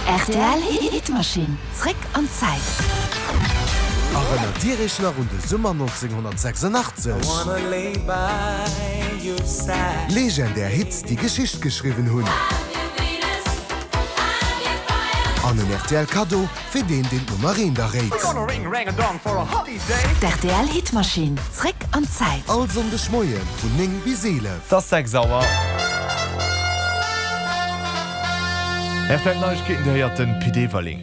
Rtl Hitmaschinn, zréck an d'Zäit. Erënnert Dir Iech nach un de Summer 1986? Legendär Hits, déi Geschicht geschriwwen hunn. An en rtl Kaddo fir deen, deen d'Nummer eent erréit. D'RTL Hitmaschinn, zréck an d'Zäit. All Sonndeg Moie vun 9 bis 11. 't ass 6 Auer. Rtl Neiegkeeten, Dir héiert den Pit Everling.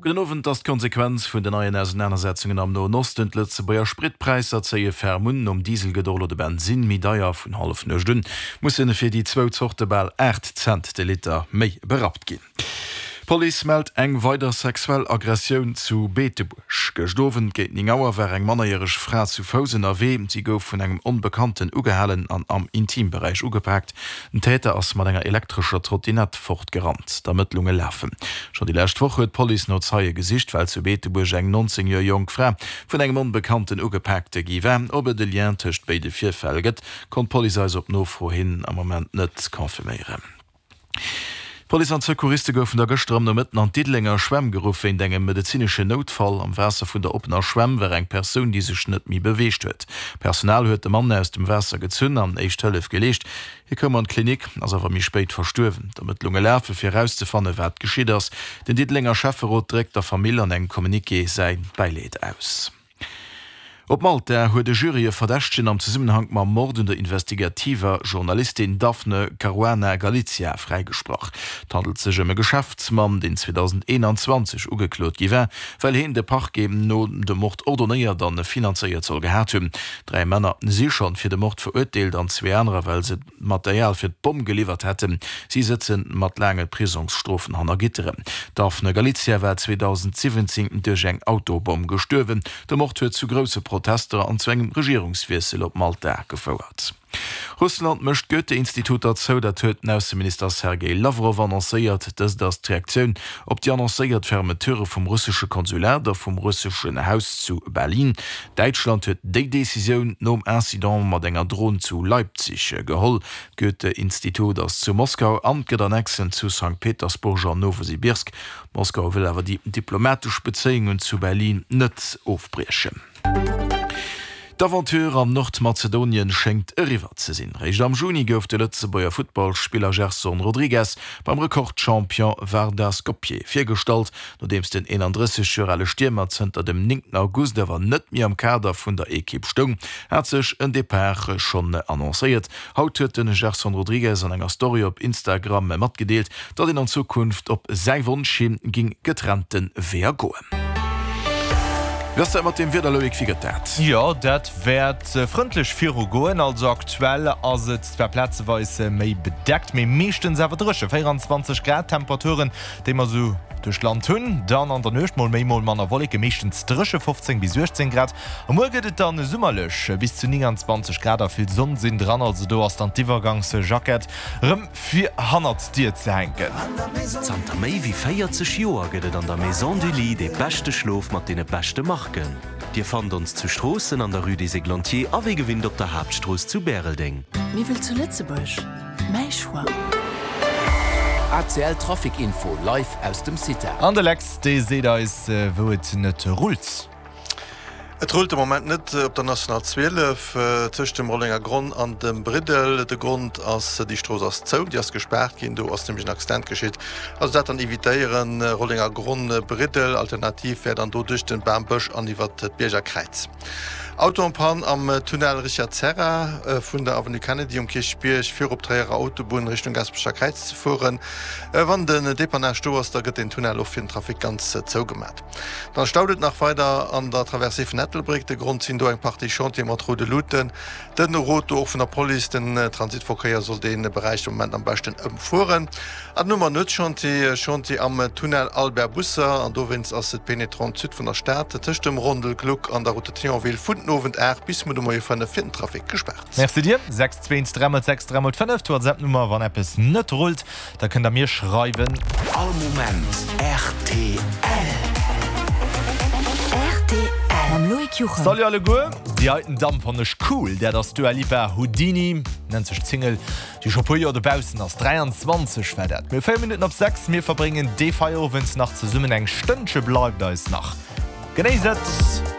Gudden Owend. Ass d'Konsequenz vun den neien Ausenanersetzungen am Noen Osten. D'Lëtzebuerger Spritpräisser zéie ferm un. Nom Diesel gëtt och elo de Bensinn méi deier. Vun Hallefnuecht un musse fir déi zwou Zorte bal 8 Cent de Liter méi berappt ginn. D'Police mellt eng weider sexuell Aggressioun zu Beetebuerg. Gëscht Owend géint 9 Auer war eng mannerjäreg Fra zu Fouss ënnerwee. Si gouf vun engem Onbekannten ugehalen an am Intimberäich ugepaakt. Den Täter ass mat enger elektrescher Trottinett fortgerannt. D'Ermëttlunge lafen. Schonn déi lescht Woch huet d'Police no Zeie gesicht, well zu Beetebuerg eng 19 Joer jonk Fra vun engem Onbekannten ugepaakte gi war. Ob et e Lien tëscht béide Virfäll gëtt, konnt d'Police eis op Nofro hin am Moment net confirméieren. D'Police an d'Secouriste goufen da gëschter am Nomëtten an d'Diddelenger Schwämm geruff wéint engem medezineschen Noutfall. Am Waasser vun der oppener Schwämm war eng Persoun, déi sech net méi beweegt huet. D'Personal huet de Mann aus dem Waasser gezunn an éischt Hëllef geleescht. Hie koum an d'Klinik, ass awer méi spéit verstuerwen. D'Ermëttlunge lafe fir erauszefanne wat geschitt ass. Den Diddelenger Schäfferot dréckt der Famill an engem Communiqué säi Bäileed aus. Op Malta huet e Jury e Verdächtegen am Zesummenhank mam Mord un der investigativer Journalistin Daphne Caruana Galizia fräigesprach. Et handelt sech ëm e Geschäftsmann, deen 2021 ugeklot gi war, well heen de Parquet no de Mord ordonéiert an finanzéiert soll gehat hunn. Dräi Männer si schonn fir de Mord verurteelt an zwee anerer, well se d'Material fir d'Bomm geliwwert hätten. Si sëtze mat laange Prisongsstrofen hanner Gitteren. D'Daphne Galizia war 2017 duerch eng Autobomm gestuerwen. De Mord huet zu grousse Protester an zu engem Regierungswiessel op Malta gefouert. Russland mécht d'Goethe-Instituter zou, dat huet den Ausseminister Sergej Lawrow annoncéiert. Dëst ass d'Reaktioun op déi annoncéiert Fermeture vum russesche Konsulat a vum russeschen Haus zu Berlin. Däitschland huet déi Decisioun nom Incident mat enger Dron zu Leipzig geholl. D'Goethe-Institut ass zu Moskau an gëtt Annexen zu Sankt Petersburg an Nowosibirsk. Moskau wëll awer déi diplomatesch Bezéiungen zu Berlin net ofbriechen. D'Aventure an Nordmazedonien schéngt eriwwer ze sinn. Réischt am Juni gouf de Lëtzebuerger Futtballspiller Gerson Rodrigues beim Rekordchampion Vardar Skopje virgestallt. Nodeems den 31 Joer ale Stiermer zënter dem 9 August awer net méi am Kader vun der Ekipp stoung, hat sech en Depart schonn annoncéiert. Haut huet de Gerson Rodrigues an enger Story op Instagram matgedeelt, datt een an Zukunft op säi Wonsch hi ging getrennte Weeër goen. Wéi ass dat mat dem Wieder, Loïc, wéi gëtt dat? Jo, dat wäert frëndlech virugoen. Also aktuell ass et zwar plazeweis méi bedeckt, mee meeschtens awer dréche. 24 Grad Temperaturen, déi mer esou duerch d'Land hunn. Dann an der Nuecht mol méi, mol manner Wolleken, meeschtens dréche, 15 bis 18 Grad. A muer gëtt et dann summerlech, bis zu 29 Grad a vill Sonn sinn dran. Also do ass dann d'Iwwergangsjackett rëm fir hannert d'Dier ze hänken. Zanter méi wéi 40 Joer gëtt et an der Maison du Lit dee beschte Schlof mat deene beschte Marken. Dir fannt ons zu Stroossen an der Rue des Églantiers a wéi gewinnt op der Haaptstrooss zu Bäreldeng. Miwwel zu Lëtzebuerg, mäi Choix. ACL Trafic Info live aus dem CITA. An de Lex, dee seet eis, wou et net rullt. Et rullt de Moment net op der National 12 tëscht dem Rollenger Gronn an dem Briddel. De Grond ass, déi Strooss ass zou, déi ass gespaart ginn. Do ass nämlech en Accident geschitt. Also dat dann evitéieren, Rollenger Gronn, Briddel. Alternativ wär dann do duerch den Bambësch an iwwert d'Bierger Kräiz. Auto en panne am Tunnel Richard Serra vun der Avenue Kennedy um Kierchbierg fir op d'Tréierer Autobunn Richtung Gaasperecher Kräiz ze fueren. Wann den Depannage do ass, da gëtt den Tunnel och fir den Trafic ganz zougemat. Dann staut et nach weider an der Traversée vun Ettelbréck. De Grond sinn do eng Partie Chantiere mat roude Luuten. Den Rot do och vun der Police, den Transitverkéier soll dee Beräich de Moment am beschten ëmfueren. An dann hu mer Nuetschantier, Chantier am Tunnel Albert Busser an dowéinst ass d'Pénétrante Sud vun der Stad tëscht dem Rondel Gluck an der Route de Thionville vun den Owend 8 bis muer de Moie 5 fir den Trafic gespaart. Merci dir. 6 2 3 mol 6 3 mol 5, d'WhatsApp-Nummer wann eppes net rullt. Da kënnt der mir schreiwen. All Moment rtl. Rtl mam Loïc. Loïc Juchem. Salut alleguer, déi heiten Damm fannen ech cool, dat ass d'Dua Lipa, Houdini nennt sech d'Single, déi scho puer Joer dobaussen ass, 23 war dat. Mir hu 4 Minutten op 6, mir verbréngen dee Feierowend nach zesummen, eng Stënnche bleift eis nach, genéisst et!